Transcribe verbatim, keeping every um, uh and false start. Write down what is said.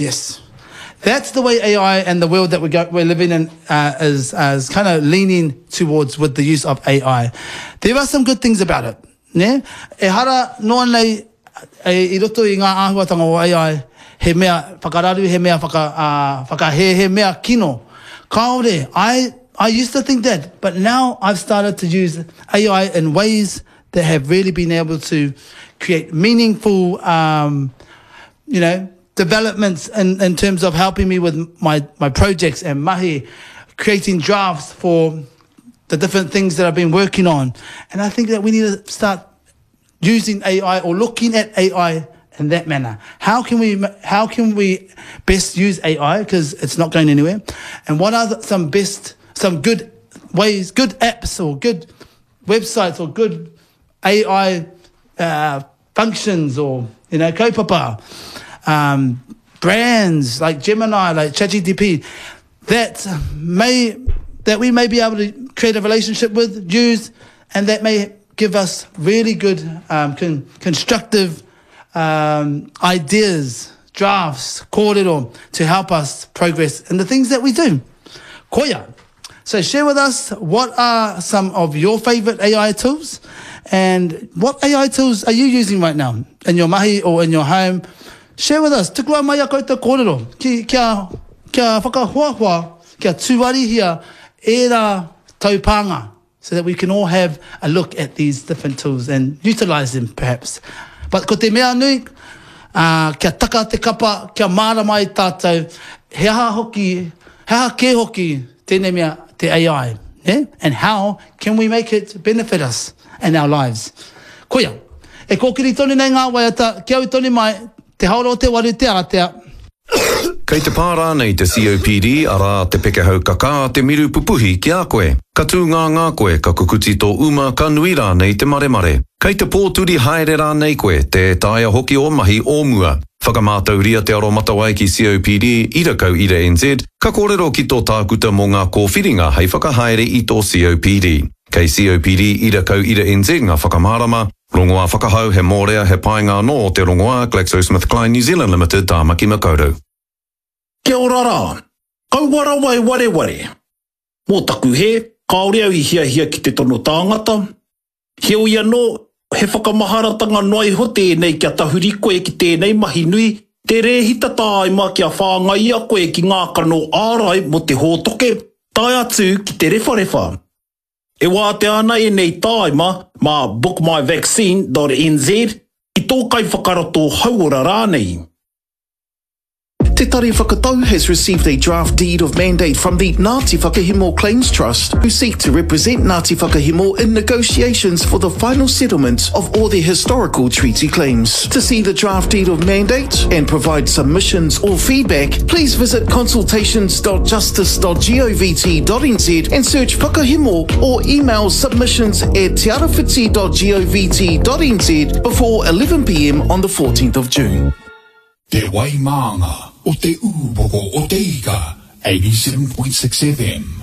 Yes. That's the way A I and the world that we go, we're living in uh, is, uh, is kind of leaning towards with the use of A I. There are some good things about it. Ne? Ehara noa nei e, i roto i ngā āhuatanga o A I, he mea whakararu, he mea whaka, uh, whakahē, he mea kino. Kāore, I, I used to think that, but now I've started to use A I in ways that have really been able to create meaningful, um, you know, developments in, in terms of helping me with my, my projects and mahi, creating drafts for the different things that I've been working on. And I think that we need to start using A I or looking at A I in that manner. How can we how can we best use A I, because it's not going anywhere? And what are the, some best some good ways, good apps or good websites or good A I uh, functions or you know kaupapa um, brands like Gemini, like Chat G P T, that may that we may be able to create a relationship with, use, and that may give us really good um, con- constructive um, ideas, drafts, kōrero to help us progress in the things that we do. Koia. So share with us, what are some of your favorite A I tools and what A I tools are you using right now in your mahi or in your home? Share with us. Tukua mai a koutou kōrero. Ki, kia, kia whakahoahoa, kia tuarihia ērā taupānga so that we can all have a look at these different tools and utilize them perhaps. But ko te mea nui, uh, kia taka te kapa, kia mārama ai tātou, he aha hoki, he aha kē hoki tēnei mea te A I. Yeah? And how can we make it benefit us and our lives? Koia, e kōkiri tonu nei ngā waiata, kia ū tonu mai, te haora o te waru te ātea. Kei te pā rānei te C O P D, arā te pekehau kakā, te miru pupuhi ki a koe. Ka tū ngā ngā koe, ka kukuti tō uma, ka nui rānei te maremare. Kei te pōturi haere rānei koe, tē taea hoki ō mahi o mua. Whakamātauria te aromatawai ki C O P D, ira kau ira N Z, ka kōrero ki tō tākuta mō ngā kōwhiringa hei whakahaere i tō C O P D. Kei C O P D ira kau ira N Z ngā whakamārama, rongoā whakahau he mōrea he painga anō te rongoā GlaxoSmithKline New Zealand Limited, Tāmaki Makaurau. Kia ora rā, kaua rawa e wareware. Mō taku hē, kāore au i hiahia ki te tono tāngata. Heoi anō, he whakamaharatanga noa iho tēnei kia tahuri koe ki tēnei mahi nui, te rēhita tāima kia whāngaia koe ki ngā kano ārai mō te hōtoke, tae atu ki te rewharewha. E wātea ana ēnei tāima mā bookmyvaccine dot N Z ki tō kaiwhakarato hauora rānei. Te Tari Whakatau has received a draft deed of mandate from the Ngāti Whakahemo Claims Trust, who seek to represent Ngāti Whakahemo in negotiations for the final settlement of all their historical treaty claims. To see the draft deed of mandate and provide submissions or feedback, please visit consultations dot justice dot govt dot N Z and search Whakahemo or email submissions at tearawhiti dot govt dot N Z before eleven p m on the fourteenth of June. Te Waimānga o te Ūpoko o te Ika, eighty-seven point six F M.